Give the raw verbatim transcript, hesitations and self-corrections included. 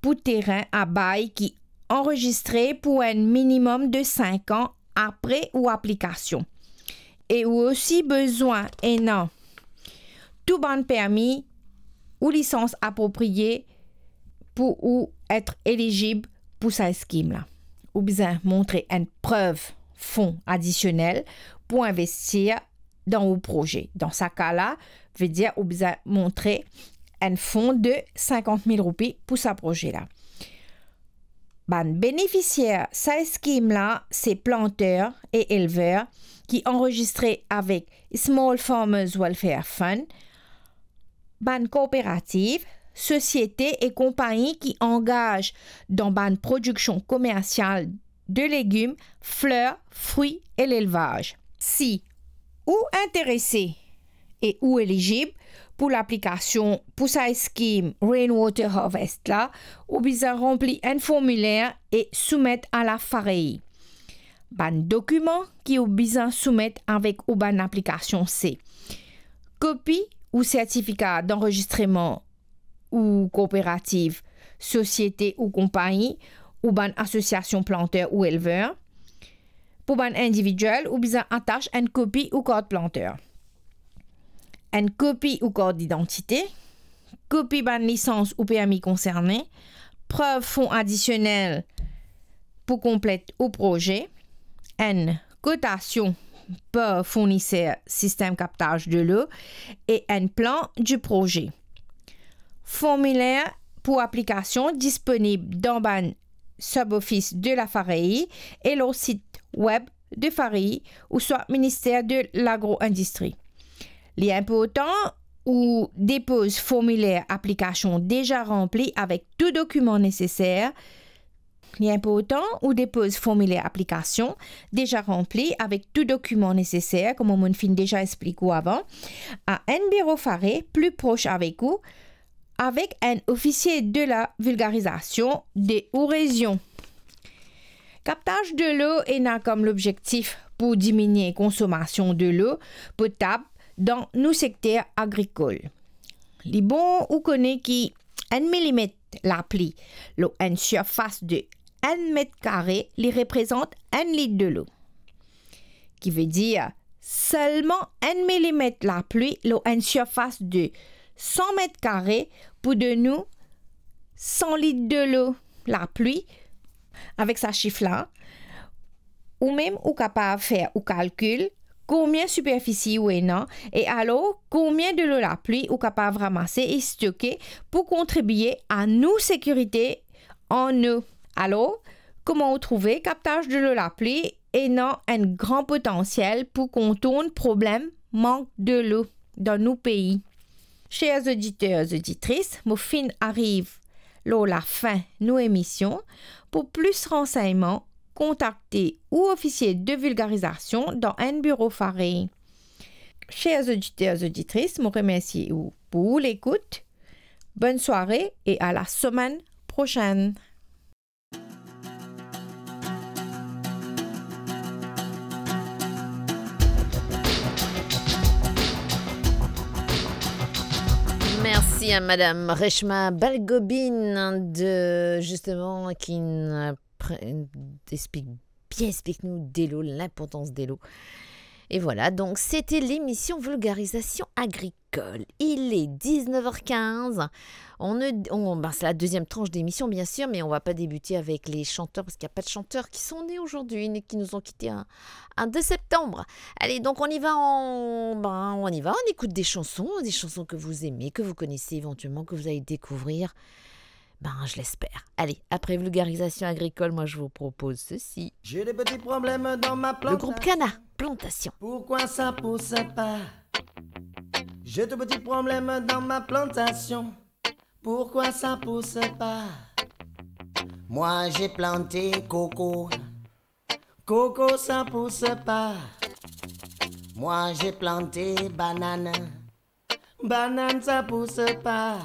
pou terin a bay ki anrezistre pou enn minimem de sink an apre ou aplikasion. E ou osi bizin ena tou bann permi ou lisans apropriye pou ou et elizib pou sa skim la. Ou bizin montre enn prev fon adisionel pou investir dan ou proze. Dan sa ka la, vedir ou bizin montre enn fon de sinkant mil roupi pou sa proze la. Bann benefisier sa skim la, se planter e elver ki anrezistre avek Small Farmers Welfare Fund, bann kooperativ, sosiete e konpagni ki angaz dan bann prodiksion komersial de legim, fler, fri e lelvaz. Si ou interese e ou elizib pou laplikasion pou sa skim Rainwater Harvest la, ou bizin ranpli enn formiler e soumet a la FAREI. Bann dokiman ki ou bizin soumet avek ou bann aplikasion se kopi ou sertifika danrezistreman ou kooperativ, sosiete ou konpagni, ou bann asosiasion planter ou elver. Pou bann individiel, ou bizin atas enn kopi ou kart planter, enn kopi ou kart didantite, kopi bann lisans ou permi konserne, prev fon adisionel pou konplet ou proze, enn kotasion par fourniser sistem kaptaz delo e enn plan di proze. Formiler pou aplikasion disponib dan bann sub-office de la FAREI e lor sit web de FAREI ouswa Minister de Lagro-Indistri. Li inportan ou depoz formiler aplikasion deza ranpli avek tou dokiman neseser. Li inportan ou depoz formiler aplikasion deza ranpli avek tou dokiman neseser, kouma mo finn deza explik ou avan, a enn biro FAREI pli pros avek ou, avek enn ofisie de la vilgarizasion de ou rezion. Kaptaz delo ena kom lobzektif pou diminie konsomasion delo potab dan nou sekter agrikol. Li bon ou kone ki enn milimet lapli lor enn sirfas de enn met kare, li reprezant enn lit delo. Ki vedir selman enn milimet lapli lor enn sirfas de san met kare pou donn ou san lit delo lapli. Avek sa sif la, ou mem ou kapav fer ou kalkil konbien siperfisi ou ena, e alor konbien delo lapli ou kapav ramase e stoke pou kontribie a nou sekirite an nou. Alor, kouma ou trouve, kaptaz delo lapli ena enn gran potansiel pou kontourn problem mank delo dan nou pei. Cher oditer, oditris, mo finn ariv lor lafin nou emision. Pou plis ransegnman, kontakte ou ofisie de vilgarizasion dan enn biro FAREI. Cher oditer, oditris, mo remersie ou pou ou lekout. Bonn sware e a la semenn prosenn. Mersi a Madam Reshma Balgobin de, justement, ki'nn, euh, pre-, explik, bien explik nou delo, linportans delo. Et voilà, donc c'était l'émission Vulgarisation Agricole. Il est dix-neuf heures quinze. On, on, ben, c'est la deuxième tranche d'émission, bien sûr, mais on va pas débuter avec les chanteurs parce qu'il n'y a pas de chanteurs qui sont nés aujourd'hui, ni qui nous ont quittés un, un deux septembre. Allez, donc on y va, on, ben, on y va, on écoute des chansons, des chansons que vous aimez, que vous connaissez éventuellement, que vous allez découvrir. Ben, je l'espère. Allez, après Vulgarisation Agricole, moi, je vous propose ceci. J'ai des petits problèmes dans ma plantation. Le groupe Kana, Plantation. Pourquoi ça pousse pas ? J'ai de petits problèmes dans ma plantation. Pourquoi ça pousse pas ? Moi, j'ai planté coco. Coco, ça pousse pas. Moi, j'ai planté banane. Banane, ça pousse pas.